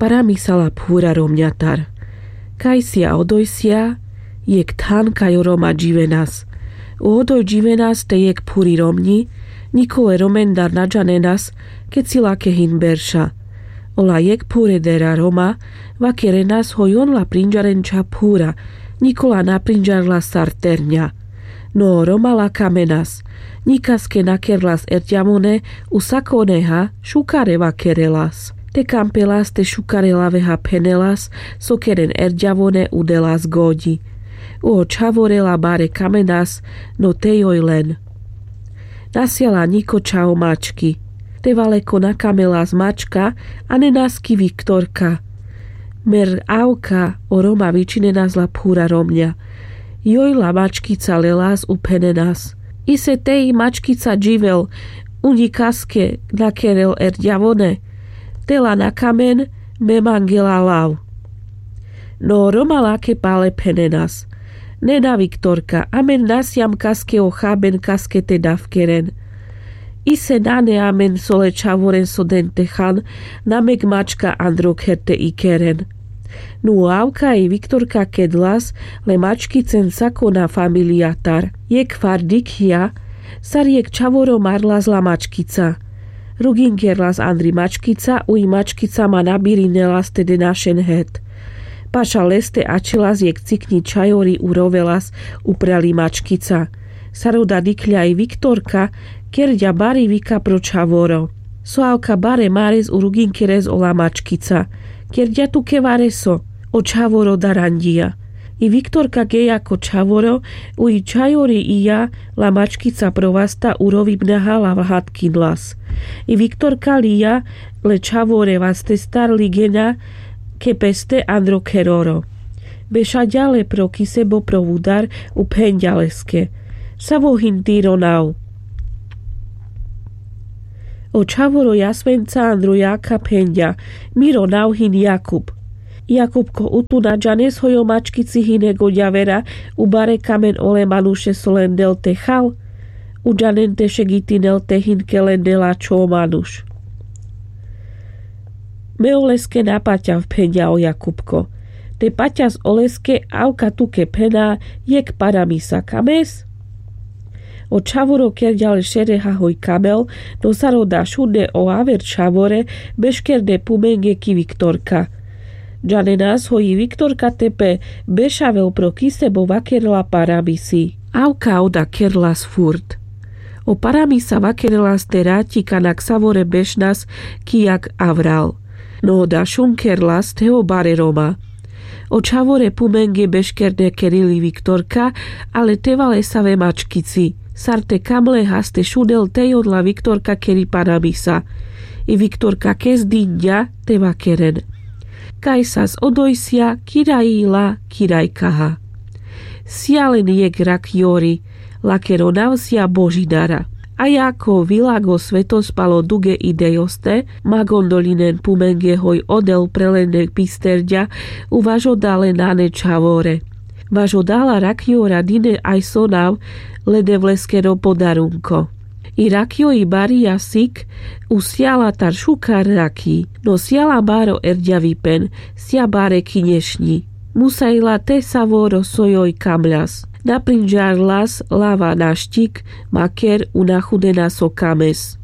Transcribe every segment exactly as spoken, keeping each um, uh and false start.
Paramisa la phura romňatar. Kajsia odojsia jekh than kaj o roma dživenas. O odoj dživenas te jekh phuri romňi. Ňikole romendar na džanenas, keci lake hin berša. Ola jekh phuredera roma vakerenas hoj on la prinďarenča phura. Ňikola na prinďarlas sar terňa. No o roma lakamenas. Ňikaske na kerlas erďavone. U sakoneha šukare vakerelas. Te kampelas te šukare laveha phenelas, so keren erďavone u delas goďi. O čhavore la bare kamenas. No te joj len. Na siala ňiko čhavo mački. Te valeko na kamelas mačka. A nenas ki viktorka. Mer avka o roma vičinenas la phura romňa. Joj la mačkica lelas u phenenas. Ise te i mačkica dživel. U ňikaske na kerel erďavone. Te la na kamen. Me mangela lav. No o roma lake pale phenenas. Nena viktorka, amen na siam kaske o haben kaske te dafkeren. Ise nane amen sole čhavoren so den te han. Na mek mačka andro kher te ikeren. Nu avka i viktorka kedlas le mačkicen sakona familijatar. Jekh far dikhja sar jekh čhavoro marlas la mačkica. Ruginkerlas andri mačkica, u i mačkica ma na birinelas te de našen het. Paša leste ačhelas jekh cikňi čhajori u rovelas upral i mačkica. Sar oda dikhľa i viktorka, kerďa bari vika pro čhavoro. So avka bare mares u ruginkeres ola mačkica. Kerďa tuke vareso. O čhavoro daranďija. I viktorka geľa ko čhavoro, u i čhajori ija la mačkica pro vasta u rovibnaha la vahatkinlas. I viktorka liľa le čhavore vastestar ligeňa ke peste andro kheroro. Bešaďa le pro kisebo pro vudar u phenďa leske. Savo hin tiro nav. O čhavoro jasvenca andro jakha phenďa. Miro nav hin jakub. Jakubko, u tu na džanes hoj o mačkici hine goďavera u bare kamen ole manuše so len del te hal. U džanen te šegitinel te hin ke len dela čho o manuš. Me oleske na paťav, phenďa o jakubko. Te paťas oleske avka tuke phena jekh paramisa kames. O čhavoro kerďa le šereha hoj kamel. No sar oda šunde o aver čhavore beškerne pumenge ki viktorka. Džanenas hoj i viktorka te pe bešavel pro kisebo vakerela paramisi. Avka oda kerlas furt. O paramisa vakerelas te raťi kana ksavore bešnas ki jak avral. No oda šunkerlas te o bare roma. O čhavore pumenge beškerne kerili viktorka, ale te valesave mačkici. Sar te kamle haste šunel te joj la viktorka keri paramisa. I viktorka kes dinďa te vakeren. Kajsas odojsia kiraji la kirajkaha. Sija len jekh rakjori, lakero nav sija Božidara. A jako vilago svetos palo duge idejoste, ma gondolinen pumenge hoj odel pre len ne pisterďa, u važoda le nane čhavore. Važoda la rakjora dine aj so nav le Devleskero podarunko. I rakjoj i barija sik, u sijala tar šukar rakji, no sijala baro erďavipen, sija bare kinješňi. Musajla te savoro so joj kamľas. Na prinďarlas lava našťik, maker u na chudena so kames.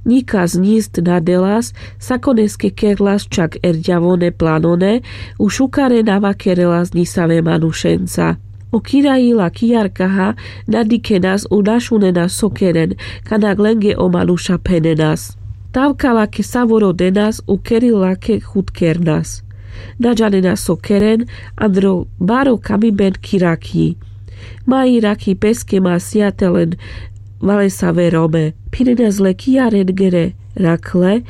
Ňikas ňist na delas, sakoneske kerlas čak erďavone planone, u šukare na vakerelas ňisave manušenca. O kiraji la kijarkaha na dikhenas u na šunenas so keren, kana lenge o manuša phenenas. Tavka lake savoro denas u keri lake chud kernas. Na džanenas so keren, andro baro kamiben ki rakji. Ma i rakji peske ma sija te len valesave rome. Phinenas le kijarengere rakle,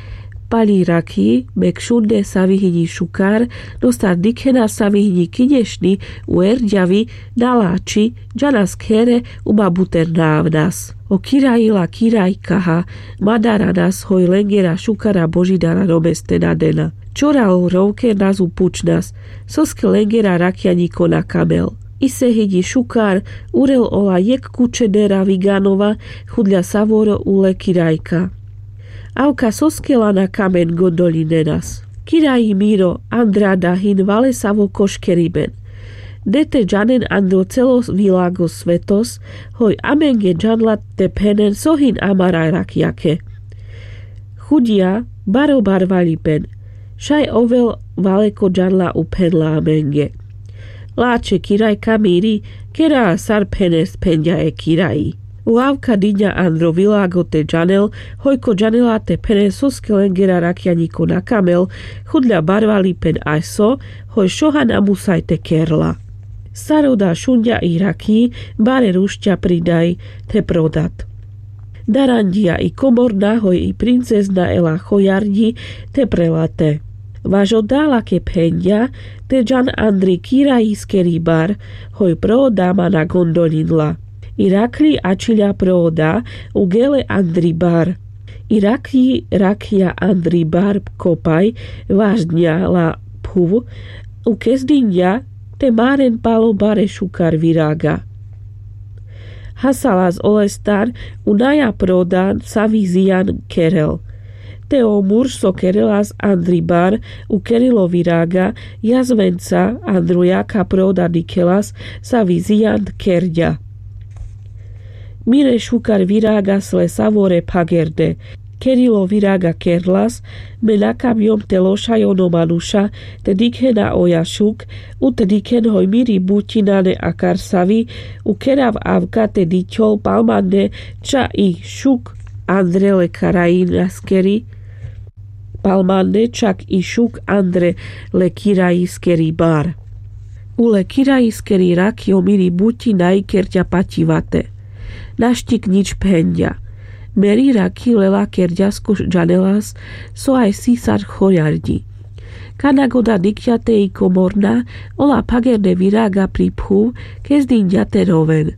paľi rakji, mek šunde savi hinji šukar, no sar dikhena savi hinji kinješňi u erďavi, na lači, džanas khere, u ma buter na avnas. O kiraji la kirajkaha, ma daranas hoj lengera šukara Božidara romeste na dena. Čoral rovkernas u pučnas, soske lengera rakja ňiko na kamel. Ise hinji šukar urel ola jekh kučedera viganova, chudľa savoro u le kirajka. Avka soske la na kamen gondolinenas. Kiraji miro, andra da hin valesavo koškeriben. De te džanen andro celo vilago svetos, hoj amenge džanla te phenen so hin amara rakjake. Chudia, baro barvalipen. Šaj ovel valeko džanla u phenla amenge. Lačhe kiraj ka miri, kera sar phenes, phenďa e kiraji. U avka diňa andro vilago te džanel, hoj ko džanela te phenes soske lengera rakjaniko na kamel, chudľa barvalipen aj so, hoj šoha na musaj te kerla. Sar oda šunďa i rakji, bare rušťa pridaj te prodat. Daranďia i komorna hoj i princezna ela chojarďi te prelate. Vaš oda lake phenďa, te džan andri kirajiskeri bar, hoj prooda ma na gondoľinla. I rakľi ačhiľa prooda, ugele andri bar. I rakľi rakľa andri bar kopaj, vaš dňa la phuv, u kezdinďa te maren palo bare šukar viraga. Hasalas olestar, u naja prodan savi zijan kerel. Te o mur so kerelas andri bar, u kerilo viraga, jazvenca andro jaka proda dikhelas savi zijan kerďa. Mire šukar viragas le savore phagerde. Kerilo viraga kerlas, me na kamjom te lošaj ono manuša, te dikhena oja šuk, u te dikhen hoj miri buti nane akar savi, u kerav avka te dikhol palmande ča i šuk andre le karajinaskeri, palmande čak i šuk andre le kirajiskeri bar. U le kirajiskeri rakjo miri buti naj kerďa pativate. Naštik nič phenďa. Meri rakji lela kerďasko džanelas, so aj si sar chojarďi. Kana goda dikhďa te i komorna, ola phagerde viraga pri phuv, kezdinďa te roven.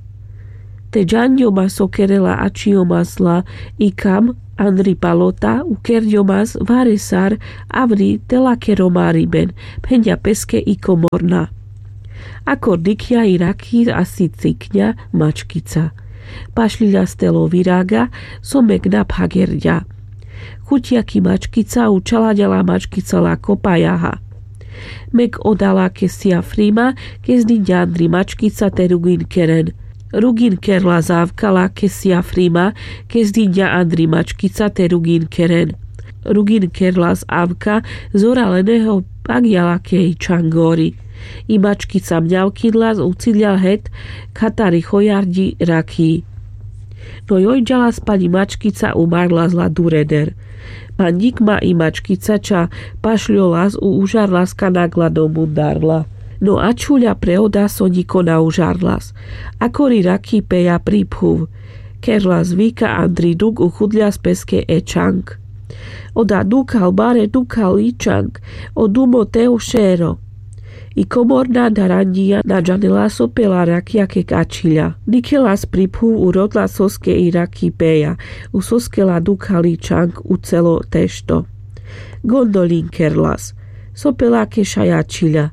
Te džanďoma so kerela ačhijomasla i kam, andri palota, u kerďomas vare sar, avri te lakero mariben, phenďa peske i komorna. Akor dikhďa i rakji asi cikňa mačkica. Pašľiľa stelo viraga, so mek na phagerďa. Chuďa ki mačkica, u čalaďa la mačkica la kopajaha. Mek oda lake sija frima, kezdinďa andri mačkica te rugin keren. Rugin kerlas avka lake sija frima, kezdinďa andri mačkica te rugin keren. Rugin kerlas avka, zora leneho pagďa lake i čangori. I mačkica mňavkinlas, u ciľa het katari chojarďi rakji. No joj džalas pani mačkica, umarlas la dureder. Manďik ma i mačkica ča pašľolas, u užarlas kana gla do mundarla. No ačhuľa pre oda so ňiko na užarlas. Akori rakji peľa pri phuv. Kerlas vika andri duk, uchudľas peske e čang. Oda dukhal bare dukhal i čang. O dumo te o šero. I komorna daranďia na džanela so peľa rakja ke ačhiľa. Dikhelas pri phuv, urodla soske i rakji peľa. U soske la dukhal i čang, u celo tešto. Gondoľin kerlas. So peľa ke šaj ačhiľa.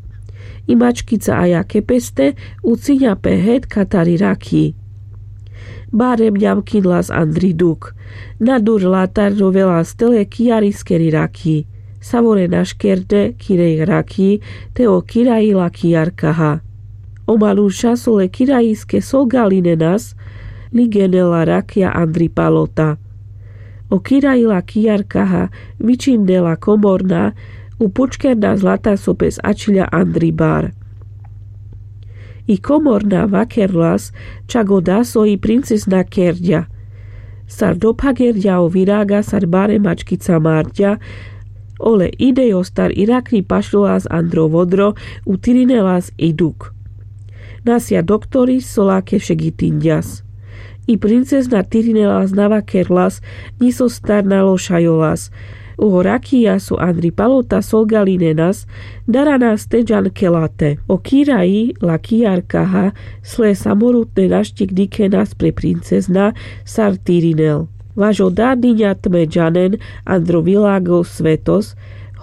I mačkica aľa ke peste, u ciňa pe het katari rakji. Bare mňavkinlas andri duk. Na dur latar rovelas tele kijariskeri rakji. Savore naškerde kire rakji, te o kiraji la kijarkaha. O manuša so le kirajiske solgalinenas, ligenela rakja andri palota. O kiraji la kijarkaha, vičinela komorna, u pučkerna zlata so pes ačhiľa andri bar. I komorna vakerlas, čak oda so i princezna kerďa. Sar dophagerďa o viraga, sar bare mačkica marďa, ole idejostar i rakri pašľolas andro vodro, utirinelas i duk. Nasja doktori so lake šegitinďas. I princezna tirinelas, na vakerlas, ni sostar na lošajolas. O rakija so andri palota solgalinenas, daranas te džan ke late. O kiraji la kijarkaha, sle samorutne naštik dikhenas pre princezna, sar tirinel. Vaš oda diňa tme džanen andro vilago svetos,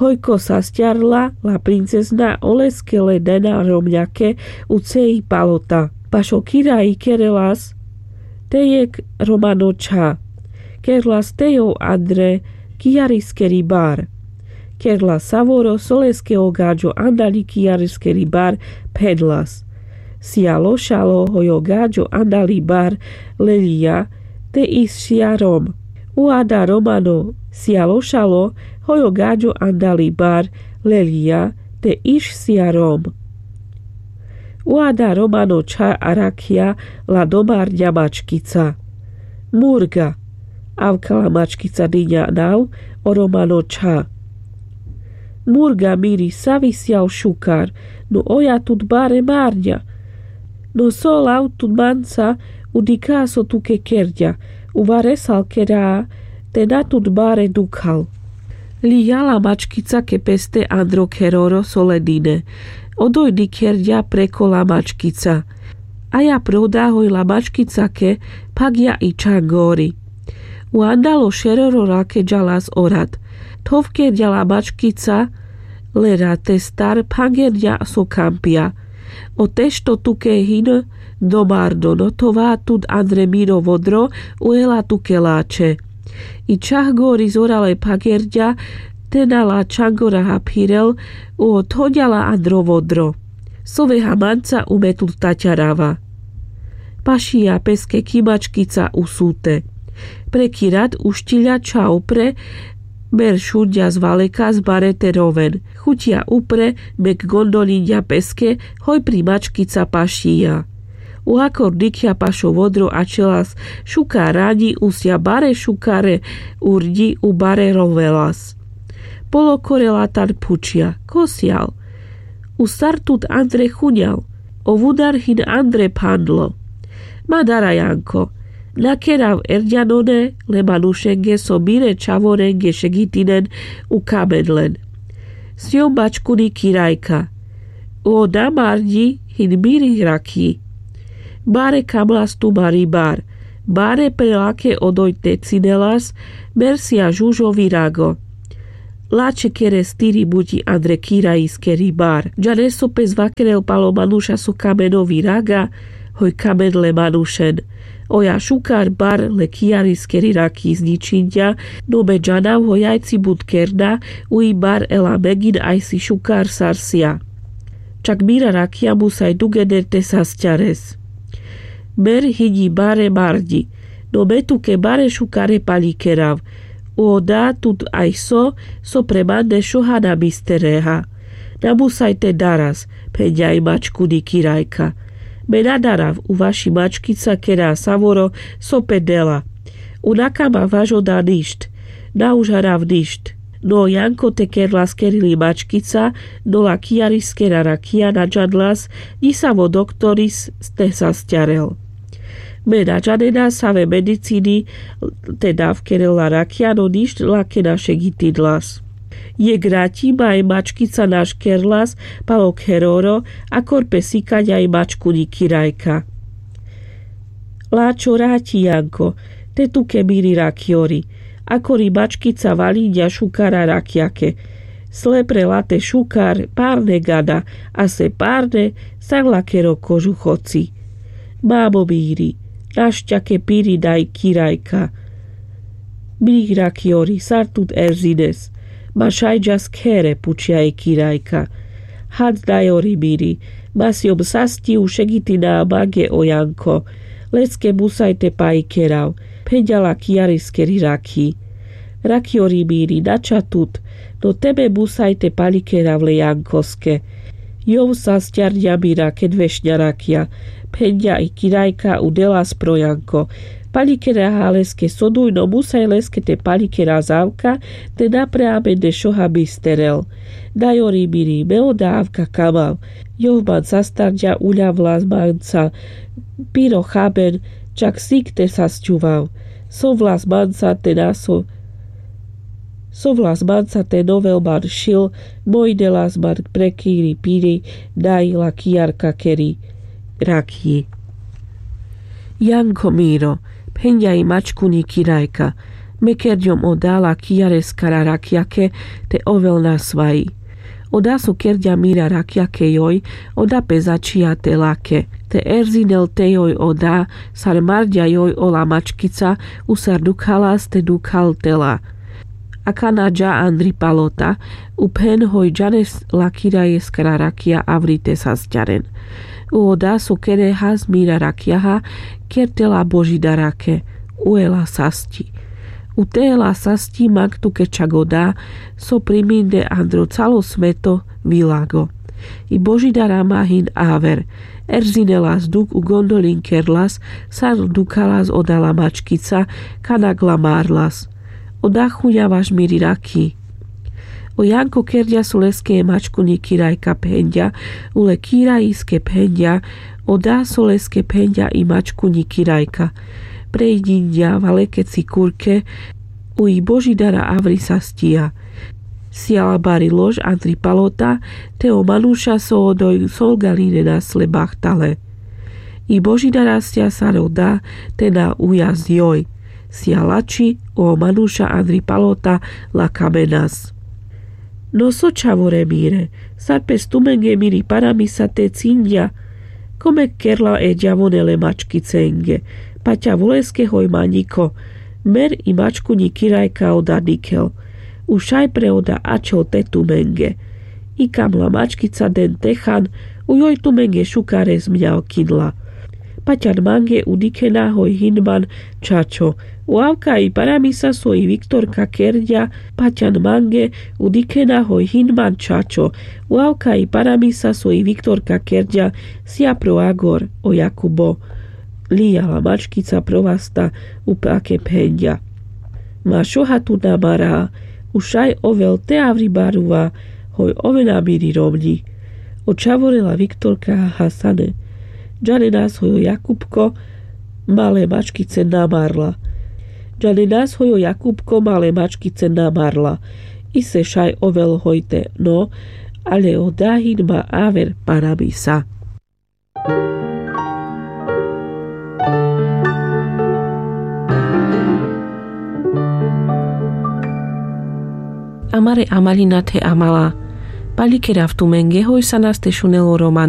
hoj ko sasťarla la princezna, oleske le dena romňake u cej palota. Paš o kiraji kerelas te jekh romano čha. Kerlas te jov andre kijariskeri bar. Kerla savoro so leske o gaďo andali kijariskeri bar, phenlas: Sijalo šalo, hoj o gaďo andali bar lelija, te išsija rom. U ada romano: Sijalo šalo, hoj o gaďo andali bar lelija, te išsija rom. U ada romano čha arakhija la domarňa mačkica. Murga. Avkala mačkica dinja nav o romano čha. Murga miri, savi sijal šukar, no oja tut bare marňa. No so lav tut manca, u dikha so tuke kerďa, u varesal kera, te na tut bare dukhal. Lija la mačkicake peste andro kheroro so le dine. Odoj dikherďa preko la mačkica. Aja proda hoj la mačkicake phagja i čhangori. U andalo šeroro rakeďa las o rat. Thovkerďa la mačkica le rate star phangerďa so kampja. O tešto tuke hin domardo, no thova tut andre miro vodro, u ela tuke lače. I čhangori zorale phagerďa, te na la čhangora ha phirel, u othoďa la andro vodro. Sove ha manca, u me tut taťarava. Pašija peske ki mačkica usute. Pre ki rat uštilja čha upre, mer šunďas valekas bare te roven. Chuťa upre, mek gondolinďa peske, hoj pri mačkica pašija. U akor dikhja pašo vodro ačhelas šukar raňi, u sija bare šukare urňi, u bare rovelas. Polo kore latan phučhja: Ko sijal? U sar tut andre chunďal? O vudar hin andre phandlo. Ma dara, Janko. Na kerav erďanone le manušenge so mire čhavorenge šegitinen u kamen len. Sijom mačkuni kirajka. U oda marňi hin miri rakhi. Bare kamlas tu mari bar. Bare pre lake odoj te cinelas, mer sija žužo virago. Lače kere stiri buti andre kirajiskeri bar. Džanes so pes vakerel palo manuša so kameno viraga, hoj kamen le manušen. Oja šukar bar le kijariskeri rakhi izničinďa, no me džanav hoj ajci but kerda, u i bar ela megin ajsi šukar sar sija. Čak mira rakhija musaj dugeder te sasťares. Mer hinji bare marňi, no me tuke bare šukare paľi kerav. U oda tut aj so, so pre man dešoha na bistereha. Na musaj te daras, phenďa i mačkuni kirajka. Me na darav, u vaši mačkica kera savoro so pe dela. U na kama vaš oda ništ, na užarav ništ. No Janko te kerlas kerili mačkica, no la kijariskera rakhija na džanlas, ni savo doktoris te sasťarel. Me na džanena save medicini te dav kerel la rakhija, no ništ lake na šegitinlas. Jekh raťi ma e mačkica naš kerlas palo kheroro, akor pe sikaďa i mačkuni kirajka. Lačo raťi, Janko, te tuke miri rakjori. Akori mačkica valinďa šukara rakjake. Sle pre late šukar, parne gada, a se parne, sar lakero kožuhoci. Mamo miri, našťake piri daj kirajka. Miri rakjori, sar tut erzines? Ma šaj džas khere, pučja i kirajka. Had dajori miri, ma sijom sasťi u šegitina mange o Janko. Leske musaj te paľi kerav, phenďa la kijariskeri rakhi. Rakjori miri, na ča tut, no te me musaj te paľi kerav le Jankoske. Jov sasťarňa mira ked vešňa rakja, phenďa i kirajka u delas pro Janko. Paľi keraha leske so duj, no musaj leske te paľi kerav avka, te na pre amen dešoha bisterel. Dajori miri, me oda avka kamav. Jov man sastarňa, uľavlas manca piro chaben, čak sik te sasťuvav. Sovlas manca te na so Sovlas manca te novel man šil, moj delas man prekiri piri daj la kijarkakeri rakhi. Janko miro, phenďa i mačkuni kirajka, me kerďom oda la kijareskara rakjake te ovel nasvaji. Oda so kerďa mira rakjake joj, oda pe začhija te lake. Te erzinel te joj oda, sar marďa joj ola mačkica, u sar dukhalas te dukhal te la. Akana dža andri palota, u phen hoj džanes la kirajes kara rakija avri te sasťaren. U oda so kere has mira rakjaha, kerte la božidarake, u e la sasťi. U te e la sasťi mang tuke čak oda so priminde andro calo sveto vilago. I božidara ma hin aver, erzine las duk u gondolin kerlas, sar dukalas oda la mačkica, kanak la marlas. Oda chunja vaš miri raki. O janko kerďa so leske e mačkunji kirajka phenďa, u le kirajiske phenďa, oda so leske phenďa i mačkunji kirajka. Prejdinďa valekeci kurke, u i božidara avri sasťija. Sijala bari lož andri palota, te o manuša so odoj solgalinenas le bahtale. I božidara sija sar oda, te na ujazdi oj. Sija lači, o manuša andri palota la kamenas. No so čhavore mire, sar pes tumenge miri paramisa te cinďa? Kome kerla e džavone le mačkicenge, paťa voleske hoj maňiko, mer i mačkunji kirajka oda dikhel. U šaj pre oda ačhol te tumenge. I kam la mačkica den te han, u joj tumenge šukares mňa okinla. Paťan mange u dikhena hoj hin man čačo. U avka i paramisa so i viktorka kerďa, paťan mange u dikhena hoj hin man čačo. U avka i paramisa so i viktorka kerďa, sija pro agor o Jakubo. Lija la mačkica pro vasta, u pake phenďa. Ma šoha tu na mara, u šaj ovel te avri baruva, hoj ovena miri romňi. O čhavore la viktorka hasane. Džanenas hoj o Jakupko ma le mačkice na marla. Džanenas hoj o Jakupko ma le mačkice na marla. Ise šaj ovel hoj te no, ale oda hin ma aver paramisa. Amare amalina the amala. Palikerav tumenge hoj sanas te šunel o romani.